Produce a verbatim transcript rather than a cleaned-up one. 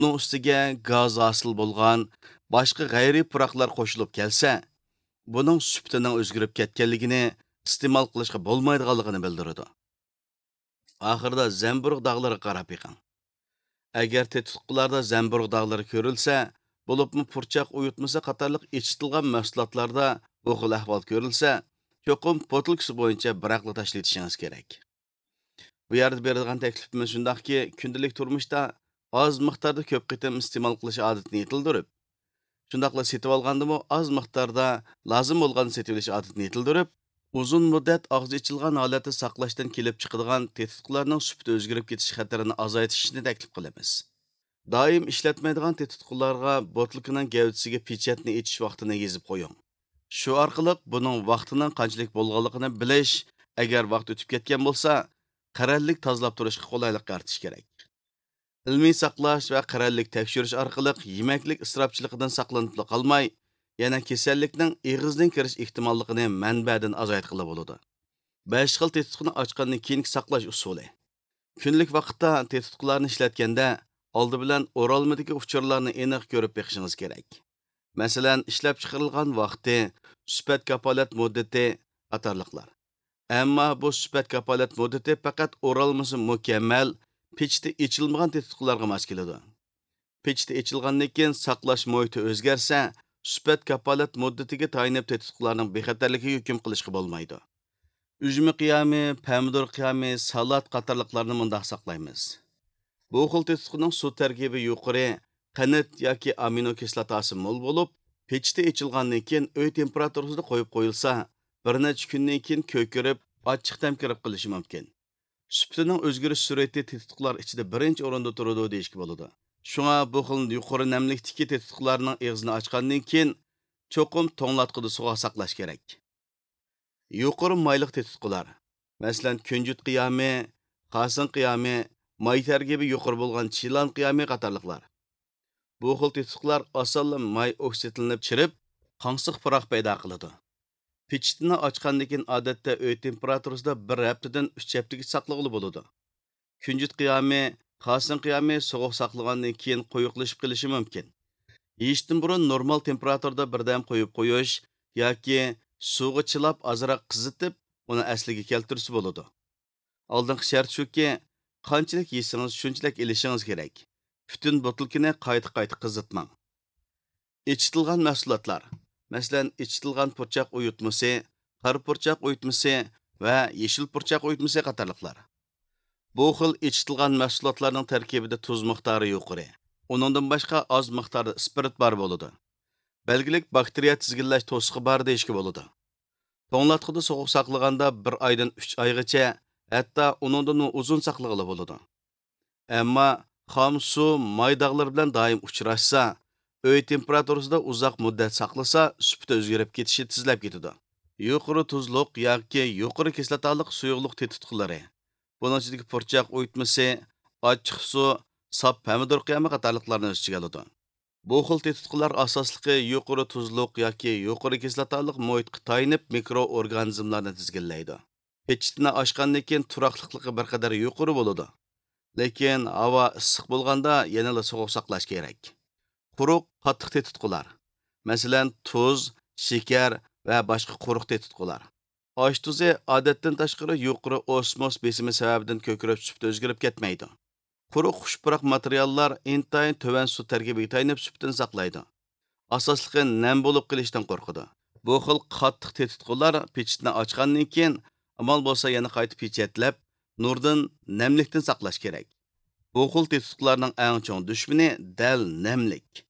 ئۇنىڭ ئۈستىگە گاز ھاسىل بولغان باشقا غەيرىي پۇراقلار قوشۇلۇپ كەلسە، بۇنىڭ سۈپىتىنىڭ ئۆزگىرىپ كەتكەنلىكىنى، ئىستېمال قىلىشقا بولمايدىغانلىقىنى بىلدۈرىدۇ. ئاخىرىدا زەمبۇرۇغ داغلىرىغا قاراپ بېقىڭ. ئەگەر تېتىتقۇلاردا زەمبۇرۇغ داغلىرى كۆرۈلسە، بولۇپمۇ پۇرچاق ئۇيۇتمىسى قاتارلىق ئېچىتىلغان مەھسۇلاتلاردا بۇ خىل ئەھۋال كۆرۈلسە، چوقۇم بوتۇلكىسى بويىچە بىراقلا تاشلىۋېتىشىڭىز كېرەك. بۇ يەردە بېرىدىغان تەكلىپىمىز شۇنداقكى، كۈندىلىك تۇرمۇشتا ئاز مىقداردا كۆپ قېتىم ئىستېمال قىلىش ئادىتىنى يېتىلدۈرۈپ، شۇنداقلا سېتىۋالغاندىمۇ ئاز مىقداردا لازىم بولغاندا سېتىۋېلىش ئادىتىنى يېتىلدۈرۈپ، ئۇزۇن مۇددەت ئاغزى ئېچىلغان ھالەتتە ساقلاشتىن كېلىپ چىقىدىغان تېتىتقۇلارنىڭ سۈپىتى ئۆزگىرىپ كېتىش خەتىرىنى ئازايتىشنى تەكلىپ قىلىمىز. دائىم ئىشلەتمەيدىغان تېتىتقۇلارغا بوتۇلكىنىڭ گەۋدىسىگە پېچەتنى ئېچىش ۋاقتىنى يېزىپ قويۇڭ. شۇ ئارقىلىق بۇنىڭ ۋاقتىنىڭ قانچىلىك بولغانلىقىنى بىلىش، ئەگەر ۋاقىت ئۆتۈپ كەتكەن بولسا، قەرەللىك تازىلاپ تۇرۇشقا قولايلىق يارىتىش كېرەك. ئىلمىي ساقلاش ۋە قەرەللىك تەكشۈرۈش ئارقىلىق يېمەكلىك ئىسراپچىلىقىدىن ساقلىنىپلا قالماي، يەنە كېسەللىكنىڭ ئېغىزدىن كىرىش ئېھتىماللىقىنى مەنبەدىن ئازايتقىلى بولىدۇ. بەش خىل تېتىتقۇنى ئاچقاندىن كېيىنكى ساقلاش ئۇسۇلى. كۈندىلىك ۋاقىتتا تېتىتقۇلارنى ئىشلەتكەندە، ئالدى بىلەن ئورالمىدىكى ئۇچۇرلارنى ئېنىق كۆرۈپ بېقىشىڭىز كېرەك. مەسىلەن، ئىشلەپچىقىرىلغان ۋاقتى، سۈپەت كاپالەت مۇددىتى قاتارلىقلار. ئەمما بۇ سۈپەت كاپالەت مۇددىتى پەقەت ئورالمىسى مۇكەممەل، پېچىتى ئېچىلمىغان تېتىتقۇلارغا ماس كېلىدۇ. پېچىتى ئېچىلغاندىن كېيىن ساقلاش مۇھىتى ئۆزگەرسە، سۈپەت كاپالەت مۇددىتىگە تايىنىپ تېتىتقۇلارنىڭ بىخەتەرلىكىگە ھۆكۈم قىلىشقا بولمايدۇ. ئۈجمە قىيامى، پەمىدۇر قىيامى، سالات قاتارلىقلارنى مۇنداق ساقلايمىز. بۇ خىل تېتىتقۇنىڭ سۇ تەركىبى يۇقىرى، قەنت ياكى ئامىنو كىسلاتاسى مول بولۇپ، پېچىتى ئېچىلغاندىن كېيىن ئۆي تېمپېراتۇرىسىدا قويۇپ قويۇلسا، بىر نەچچە كۈندىن كېيىن كۆكىرىپ، ئاچچىق تەم كىرىپ قېلىشى مۇمكىن. سۈپىتىنىڭ ئۆزگىرىش سۈرئىتى تېتىتقۇلار ئىچىدە بىرىنچى ئورۇندا تۇرىدۇ دېيىشكە بولىدۇ. شۇڭا بۇ خىل يۇقىرى نەملىكتىكى تېتىتقۇلارنىڭ ئېغىزىنى ئاچقاندىن كېيىن، چوقۇم توڭلاتقۇدا سوغۇق ساقلاش كېرەك. يۇقىرى مايلىق تېتىتقۇلار، مەسىلەن، كۈنجۈت قىيامى، خاسىڭ قىيامى، ماي تەركىبى يۇقىرى بولغان چىلان قىيامى قاتارلىقلار. بۇ خىل تېتىتقۇلار ئاسانلا ماي ئوكسىدلىنىپ چىرىپ، قاڭسىق پۇراق پەيدا قىلىدۇ. پېچىتىنى ئاچقاندىن كېيىن، ئادەتتە ئۆي تېمپېراتۇرىسىدا بىر ھەپتىدىن ئۈچ ھەپتىگىچە ساقلىغىلى بولىدۇ. كۈنجۈت قىيامى، خاسىڭ قىيامى سوغۇق ساقلىغاندىن كېيىن قويۇقلىشىپ قېلىشى مۇمكىن. يېيىشتىن بۇرۇن نورمال تېمپېراتۇرىدا بىردەم قويۇپ قويۇش ياكى سۇغا چىلاپ ئازراق قىزىتىپ، ئۇنى ئەسلىگە كەلتۈرسە بولىدۇ. ئالدىنقى شەرت شۇكى، قانچىلىك يېسىڭىز، شۇنچىلىك ئېلىشىڭىز كېرەك. پۈتۈن بوتۇلكىنى قايتا-قايتا قىزىتماڭ. ئېچىتىلغان مەھسۇلاتلار، مەسىلەن، ئېچىتىلغان پۇرچاق ئۇيۇتمىسى، قارا پۇرچاق ئۇيۇتمىسى ۋە يېشىل پۇرچاق ئۇيۇتمىسى قاتارلىقلار. بۇ خىل ئېچىتىلغان مەھسۇلاتلارنىڭ تەركىبىدە تۇز مىقدارى يۇقىرى، ئۇنىڭدىن باشقا ئاز مىقداردا ئىسپىرت بار بولىدۇ. بەلگىلىك باكتېرىيە تىزگىنلەش توسۇقى بار دېيىشكە بولىدۇ. توڭلاتقۇدا سوغۇق ساقلىغاندا بىر ئايدىن ئۈچ ئايغىچە، ھەتتا ئۇنىڭدىنمۇ ئۇزۇن ساقلىغىلى بولىدۇ. ئەمما خام سۇ ماي داغلىرى بىلەن دائىم ئۇچراشسا، ئۆي تېمپېراتۇرىسىدا ئۇزاق مۇددەت ساقلىسا، سۈپىتى ئۆزگىرىپ كېتىشى تېزلەپ كېتىدۇ. يۇقىرى تۇزلۇق ياكى يۇقىرى كىسلاتالىق سۇيۇقلۇق تېتىتقۇلىرى، بۇنىڭ ئىچىدىكى پۇرچاق ئۇيۇتمىسى، ئاچچىق سۇ، ساپ پەمىدۇر قىيامى قاتارلىقلارنى ئۆز ئىچىگە ئالىدۇ. بۇ خىل تېتىتقۇلار ئاساسلىقى يۇقىرى تۇزلۇق ياكى يۇقىرى كىسلاتالىق مۇھىتقا تايىنىپ مىكرو ئورگانىزملارنى تىزگىنلەيدۇ. پېچىتىنى ئاچقاندىن كېيىن تۇراقلىقلىقى بىر قەدەر يۇقىرى بولىدۇ. لېكىن ھاۋا ئىسسىق بولغاندا يەنىلا سوغۇق ساقلاش كېرەك. قۇرۇق، قاتتىق تېتىتقۇلار، مەسىلەن، تۇز، شېكەر ۋە باشقا قۇرۇق تېتىتقۇلار. ئاش تۇزى ئادەتتىن تاشقىرى يۇقىرى ئوسموس بېسىمى سەۋەبىدىن كۆكىرىپ سۈپىتى ئۆزگىرىپ كەتمەيدۇ. قۇرۇق خۇش پۇراق ماتېرىياللار ئىنتايىن تۆۋەن سۇ تەركىبىگە تايىنىپ سۈپىتىنى ساقلايدۇ. ئاساسلىقى نەم بولۇپ قېلىشتىن قورقىدۇ. بۇ خىل قاتتىق تېتىتقۇلار پېچىتنى ئاچقاندىن كېيىن، ئامال بولسا يەنە قايتا پېچەتلەپ، نۇردىن، نەملىكتىن ساقلاش كېرەك. بۇ خىل تېتىتقۇلارنىڭ ئەڭ چوڭ دۈشمىنى دەل نەملىك.